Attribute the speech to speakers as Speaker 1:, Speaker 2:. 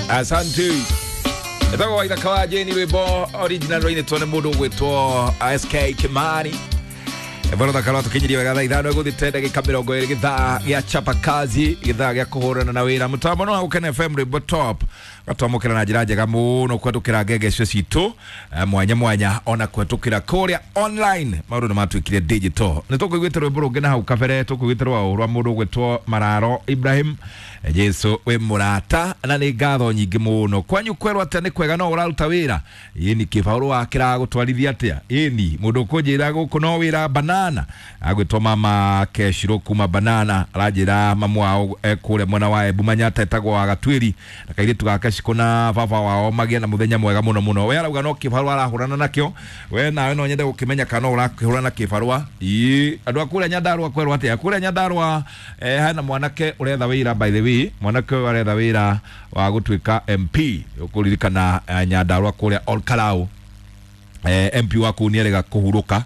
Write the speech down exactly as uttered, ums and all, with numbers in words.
Speaker 1: Asante. Etagwo Waithaka wa Jane, rwimbo original rwainĩtwo nĩ mũndũ ũgwĩtwo S K Kimani. Bwana thaka tukinyirie wega thaa ithano ĩgũthite ndagĩka mĩrongo ĩrĩ, gĩthaa gĩa chapa kazi, gĩthaa gĩa kũhũrana na wĩra. Mũtambo no wa Gũkena F M, rwĩmbo top gatwamũkĩra na njĩra njega mũno kũhetũkĩra ngenge icio citũ eh, mwanya mwanya, ona kũhetũkĩra kũrĩa online. Maũndũ nĩ matuĩkire digital. Nĩ tũkũiguĩte rwĩmbo rũngĩ na hau kabere, tũkũiguĩte rwa rwa mũndũ ũgwĩtwo Mararo Ibrahim, eh, Jesu wĩ mũrata, na nĩ ngatho nyingĩ mũno. Kwanyu kwerwo atĩa? Nĩ kwega? No ũraruta wĩra? Ĩni, kĩbarũa kĩragũtwarithia atĩa? Ĩni, mũndũ ũkũnjĩra gũkũ no wĩra banana, agwĩtwo mama Keshiro kuma banana, aranjĩra mamu wao e kũrĩa mwena wa Embu Manyata, etagwo wa Gatuĩri, na kairĩtu gake Cikũ na baba wao magĩe na mũthenya mwega mũno mũno. We arauga no kĩbarũa arahũrana nakĩo. We nawe no nyende gũkĩmenya kana no ũrakĩhũrana na kĩbarũa. Ĩ, andũ a kũrĩa Nyandarũa kwerwo atĩa? Kũrĩa Nyandarũa eh, hena mwanake ũretha wĩra. By the way, mwanake ũyũ aretha wĩra wa gũtuĩka M P. Ũkũririkana eh, Nyandarũa kũrĩa Olkalau, eh, M P wa kũu nĩerega kũhurũka.